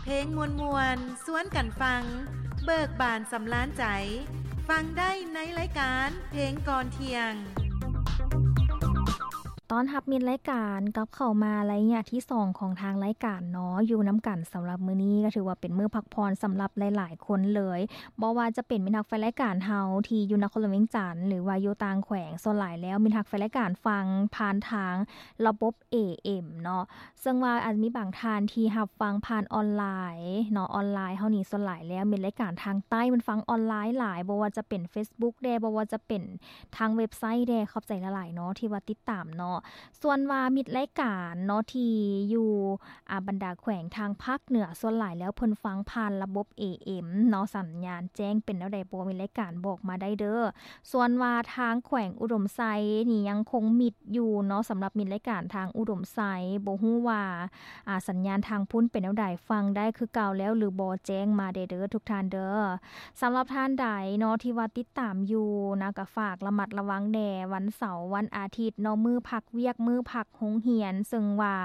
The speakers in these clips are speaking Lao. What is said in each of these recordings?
ເພງມ່ວນໆ ຊວນກັນຟັງ ເບີກບານສຳລານໃຈ ຟັງໄດ້ໃນລາຍການເພງກ່ອນທ່ຽງ. ຕ້ອນຮັບມິດລາຍການກັບເຂົ້າມາໄລຍະທີສອງຂອງທາງລາຍການເນາະ, ຢູ່ນຳກັນສຳລັບມື້ນີ້ກໍຖືວ່າເປັນມື້ພັກຜ່ອນສຳລັບຫຼາຍໆຄົນເລີຍ, ບໍ່ວ່າຈະເປັນມິດຮັກແຟນລາຍການເຮົາທີ່ຢູ່ນະຄອນຫຼວງວຽງຈັນ ຫຼືວ່າຢູ່ຕ່າງແຂວງ, ສ່ວນຫຼາຍແລ້ວມິດຮັກແຟນລາຍການຟັງຜ່ານທາງລະບົບ ເອເອັມ ເນາະ, ເຊິ່ງວ່າອາດມີບາງທ່ານທີ່ຮັບຟັງຜ່ານອອນລາຍເນາະ, ອອນລາຍເຮົານີ້ສ່ວນຫຼາຍແລ້ວມິດລາຍການທາງໃຕ້ມັນຟັງອອນລາຍຫຼາຍ, ບໍ່ວ່າຈະເປັນເຟສບຸກແດ່, ບໍ່ວ່າຈະເປັນ ທາງເວັບໄຊແດ່. ຂອບໃຈຫຼາຍໆເນາະ ທີ່ວ່າຕິດຕາມເນາະ. ສ່ວນວ່າມິດລາຍການເນາະ ທີ່ຢູ່ ອາ ບັນດາແຂວງທາງພາກເໜືອ ສ່ວນຫຼາຍແລ້ວເພິ່ນຟັງຜ່ານລະບົບ ເອເອັມ ເນາະ, ສັນຍານແຈ້ງເປັນແນວໃດບໍ່ ມິດລາຍການບອກມາໄດ້ເດີ້. ສ່ວນວ່າທາງແຂວງອຸດົມໄຊນີ້ຍັງຄົງມິດຢູ່ເນາະ, ສຳລັບມິດລາຍການທາງອຸດົມໄຊ ບໍ່ຮູ້ວ່າ ອາ ສັນຍານທາງພຸ້ນເປັນແນວໃດ, ຟັງໄດ້ຄືເກົ່າແລ້ວຫຼືບໍ່ ແຈ້ງມາແດ່ເດີ້ທຸກທ່ານເດີ້. ສຳລັບທ່ານໃດເນາະ ທີ່ວ່າຕິດຕາມຢູ່ນະ ກໍຝາກລະມັດລະວັງແດ່, ວັນເສົາ ວັນອາທິດເນາະ, ມື້ພັກວຽກ, ມື້ພັກໂຮງຮຽນ, ເຊິ່ງວ່າ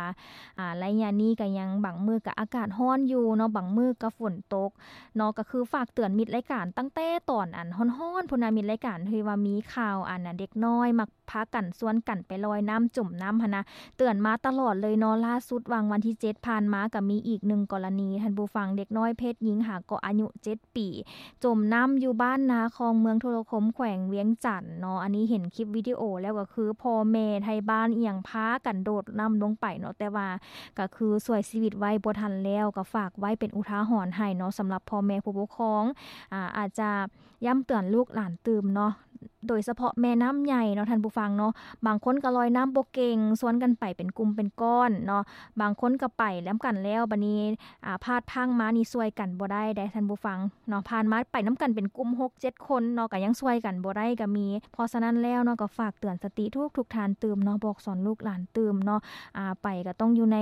ອາ ໄລຍະນີ້ກໍຍັງ ບາງມື້ກໍອາກາດຮ້ອນຢູ່ເນາະ, ບາງມື້ກໍຝົນຕົກເນາະ, ກໍຄືຝາກເຕືອນມິດລາຍການຕັ້ງແຕ່ຕອນອັນຮ້ອນໆພຸ້ນນະ, ມິດລາຍການທີ່ວ່າມີຂ່າວອັນນະ ເດັກນ້ອຍມັກ ພາກັນຊວນກັນໄປລອຍນ້ຳ ຈົມນ້ຳຫັ້ນນະ, ເຕືອນມາຕະຫຼອດເລີຍເນາະ. ລ່າສຸດຫວ່າງວັນທີເຈັດຜ່ານມາກໍມີອີກໜຶ່ງກໍລະນີ ທ່ານຜູ້ຟັງ, ເດັກນ້ອຍເພດຍິງຫາກໍອາຍຸເຈັດປີ ຈົມນ້ຳຢູ່ບ້ານນາຄອງ ເມືອງທຸລະຄົມ ແຂວງວຽງຈັນເນາະ. ອັນນີ້ເຫັນຄລິບວິດີໂອແລ້ວກໍຄືພໍ່ແມ່ໄທບ້ານອີ່ຫຍັງພາກັນໂດດນ້ຳລົງໄປເນາະ, ແຕ່ວ່າກໍຄືຊ່ວຍຊີວິດໄວ້ບໍ່ທັນແລ້ວ. ກໍຝາກໄວ້ເປັນອຸທາຫອນໃຫ້ເນາະ ສຳລັບພໍ່ແມ່ຜູ້ປົກຄອງ, ອາ ອາດຈະ ຢ້ຳເຕືອນລູກຫຼານຕື່ມເນາະ, ໂດຍສະເພາະແມ່ນ້ຳໃຫຍ່ເນາະທ່ານຜູ້ຟັງເນາະ, ບາງຄົນກໍລອຍນ້ຳບໍ່ເກັ່ງ ຊວນກັນໄປເປັນກຸ່ມເປັນກ້ອນເນາະ, ບາງຄົນກໍໄປນຳກັນແລ້ວ ບາດນີ້ ອາ ພາດພັງມານີ້ຊ່ວຍກັນບໍ່ໄດ້ເດ້ທ່ານຜູ້ຟັງເນາະ. ຜ່ານມາໄປນຳກັນເປັນກຸ່ມຫົກເຈັດຄົນເນາະ ກໍຍັງຊ່ວຍກັນບໍ່ໄດ້ກໍມີ. ເພາະສະນັ້ນແລ້ວເນາະ ກໍຝາກເຕືອນສະຕິທຸກໆທ່ານຕື່ມເນາະ, ບອກສອນລູກຫຼານຕື່ມເນາະ, ອາ ໄປກໍຕ້ອງຢູ່ໃນ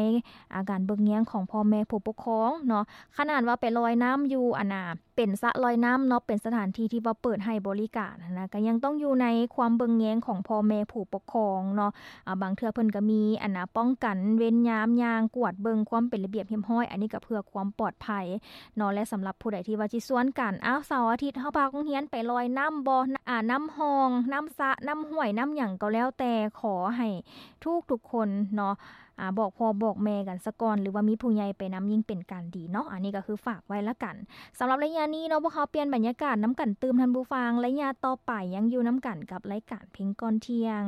ອາ ການເບິ່ງແຍງຂອງພໍ່ແມ່ຜູ້ປົກຄອງເນາະ. ຂະໜາດວ່າໄປລອຍນ້ຳຢູ່ ອັນນາ ເປັນສະລອຍນ້ຳເນາະ, ເປັນສະຖານທີ່ທີ່ວ່າເປີດໃຫ້ບໍລິການຫັ້ນນະ, ກໍຍັງຕ້ອງຢູ່ໃນຄວາມເບິ່ງແຍງຂອງພໍ່ແມ່ຜູ້ປົກຄອງເນາະ. ອາ ບາງເທື່ອເພິ່ນກໍມີ ອັນນາ ປ້ອງກັນເວນຍາມ ຍ່າງກວດເບິ່ງຄວາມເປັນລະບຽບຮຽບຮ້ອຍ, ອັນນີ້ກໍເພື່ອຄວາມປອດໄພເນາະ. ແລະ ສຳລັບຜູ້ໃດທີ່ວ່າຊິຊວນກັນ ອ້າວ ເສົາອາທິດເຮົາພາໂຮງຮຽນໄປລອຍນ້ຳບໍ່ ອາ ນ້ຳຮ່ອງ ນ້ຳສະ ນ້ຳຫ້ວຍ ນ້ຳຫຍັງກໍແລ້ວແຕ່, ຂໍໃຫ້ທຸກໆຄົນເນາະ ອາ ບອກພໍ່ບອກແມ່ກັນສາກ່ອນ ຫຼືວ່າມີຜູ້ໃຫຍ່ໄປນຳ ຍິ່ງເປັນການດີເນາະ. ອັນນີ້ກໍຄືຝາກໄວ້ລະກັນ. ສຳລັບໄລຍະນີ້ເນາະ ພວກເຮົາປ່ຽນບັນຍາກາດນຳກັນຕື່ມທ່ານຜູ້ຟັງ, ໄລຍະຕໍ່ໄປຍັງຢູ່ນຳກັນກັບລາຍການເພງກ່ອນທ່ຽງ.